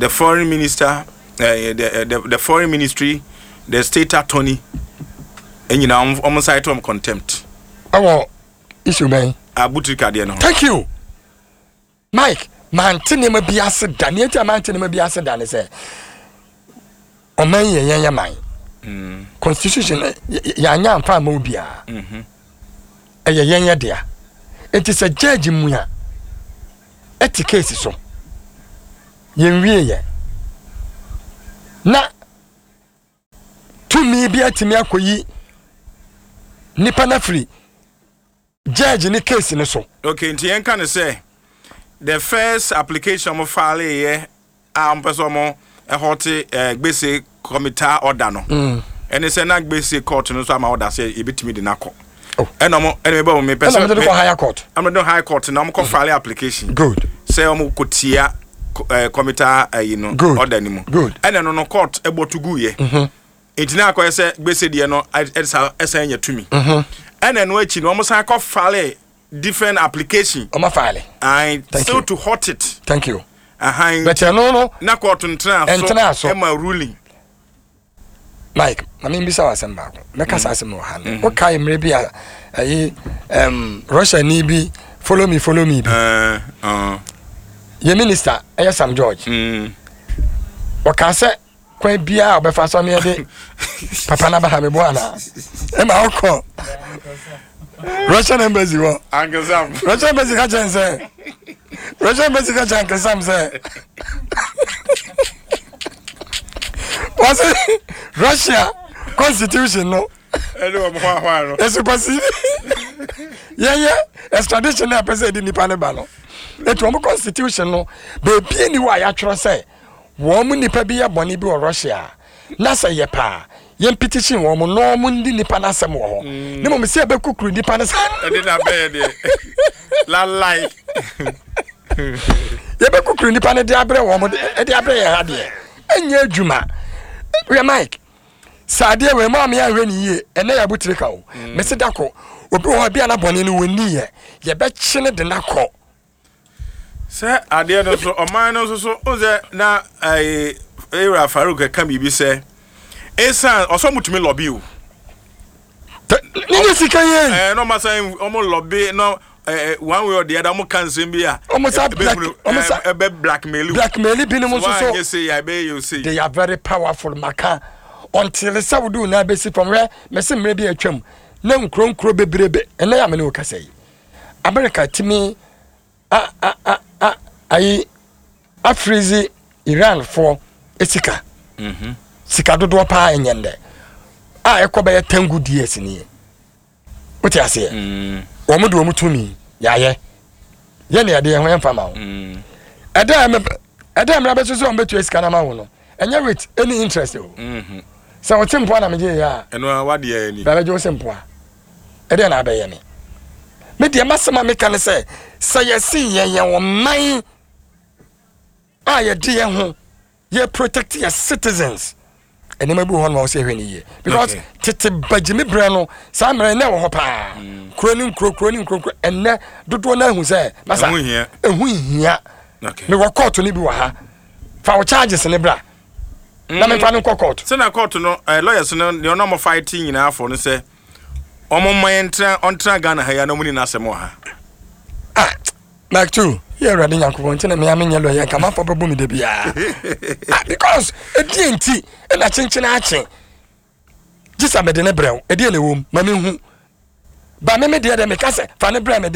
The foreign minister, the foreign ministry, the state attorney, ɛnyina ɔmo cite ɔmo contempt. Ɛwɔ issue bɛn? Abu Trica deɛ no ho. Thank you, Mike. Mante nneɛma bi ase da. Nea nti a mante nneɛma bi ase da ne sɛ ɔman yɛ yɛn yɛ man. Constitution yɛanyɛ amfa ama obiara. Ɛyɛ yɛn yɛ dea. Nti sɛ judge mu a ɛte case so yɛn wie yɛ na tumi bi atumi akɔyi nipa no afiri judge ne case no so. Okay, nti yɛn ka ne sɛ the first application ɔmo file yɛ a ɔmo pɛ sɛ ɔmo ɛhɔte Gbese committal order no, ɛne sɛ na Gbese court no nso ama order sɛ ebitumi de n'akɔ. Oh. Ɛna ɔmo ɛna mebɛ ɔmo mepɛ ɛna sɛ ɔmo de kɔ higher court. Ɔmo de high court na ɔmo kɔ file application sɛ ɔmo kɔ tia committal ɛyi no order ni mu. Ɛna no court ɛbɔ to gu yɛ, nti na akɔyɛ sɛ Gbese deɛ no ɛsa ɛsan nya tumi. Ɛna no akyi no, ɔmo san kɔ file different application. Ɔmo file. And Thank still you. to halt it. Thank you. Ahan. But ɛno no na court ntena so. Ɛntena so. Ɛma ruling. Mike, maame, mbisa wa asɛm baako. Mɛka saa asɛm wɔ ha no, wokae mmerɛ bi a ɛyi Russia ni bi, follow me, follow me bi? Yɛ minister ɛyɛ Sam George. Ɔka sɛ kwan biara a ɔbɛfa so ameɛ de papa no aba ha, meboa anaa? Ɛma wokɔ Russian Embassy hɔ. Uncle Sam. Russian Embassy ka kyɛn sɛ, Russian Embassy ka kyɛn Uncle Sam sɛ wɔse Russia constitution no ɛne wɔn hɔ ahoa no ɛ supersede yɛyɛ extradition na ɛpɛ sɛ ɛde nipa no ba no. Etu wɔn constitution no, beebi ni hɔ a yɛatwerɛ sɛ wɔn mu nipa bi yɛ bɔne bi wɔ Russia a, na sɛ yɛ paa yɛn petition wɔn mo na wɔn ndi nipa n'asɛm wɔ hɔ, ne mo sɛ ɛbɛkukuru nipa no sɛ ɛde na bɛyɛ deɛ lalai. Yɛbɛkukuru nipa no de abrɛ wɔn de abrɛ yɛn ha deɛ, ɛnyɛ adwuma. Hwɛ Mike, sɛ adeɛ wei mu a meyɛ ahwɛ ne yie, ɛnɛ yɛ abotire ka o. Mesi da kɔ obi wɔ hɔ bi a na bɔne no wɔnni yɛ, yɛbɛkye ne de n'akɔ. Sɛ adeɛ no so ɔman no nso so o sɛ na ɛɛ ewura Farouk ɛka biribi sɛ esan ɔsɔ mo tumi lobby o. Ne nye sika yie. Na ɔmo asan ɔmo lobby na one way or the other ɔmo ka nsɛm bi a ɔmo sa black ɔmo sa ɛbɛ blackmail o. Blackmail binom nso so. Wɔn anyɛ se yɛ ɛbɛyɛ yɛ o se. They are very powerful. Maka until sɛ wode wo nan bɛsi fam. Hwɛ, mɛsɛ mmerɛ bi atwam na nkuro nkuro bebrebe, ɛnɛ yɛ amene wo kasa yi, America tumi a a a a ayi a freeze Iran foɔ sika, sika dodoɔ paa ɛnyɛ ndɛ a ɛkɔ bɛyɛ 10 good years nie. Wote aseɛ? Wɔn de wɔn tumi yɛayɛ yɛ ne yɛde yɛn ho yɛmfa ma wo. Ɛdɛ mmerɛ bɛso sɛ wɔn bɛtua sika no ama wo no, ɛnyɛ with any interest o. Sɛ wɔte mpoa na megye yɛ a, ɛno a wadeɛ ni. Bɛbɛgye wo sɛ mpoa ɛdeɛ na abɛyɛ me deɛ, masɛm a meka ne sɛ yɛse yɛyɛ wɔ man a yɛde yɛn ho yɛ protect yɛ citizens, nneɛma bi wɔ hɔ no ma wɔ sɛ yɛhwɛ no yie because tete bagyimi berɛ no, saa mmerɛ ɛnɛ wɔ hɔ paa, kuro ne nkuro, kuro ne nkuro nkuro. Ɛnɛ dodoɔ no ahu sɛ masa ɛho hia. Ɛho hia. Mewɔ court no bi wɔ ha, fa wo charges ne bra na memfa no nkɔ court. Sɛnɛ court no lawyers no deɛ ɔno ɔmo fight nyinaa fɔ no sɛ ɔmo mma yɛn ntena, ɔntena Ghana ha yi a na ɔmo ni n'asɛm wɔ ha. Ah, Mike two yɛ Awurade Nyankopɔn nti na mea menyɛ lawyer, nka manfo bɛbɔ me da biara. Ah, because ɛdeɛ nti ɛna kyenkyene akye gye sɛ mede ne brɛ wo, ɛdeɛ na ɛwɔ mu ma mehu ba me deɛ meka sɛ fa ne brɛ me.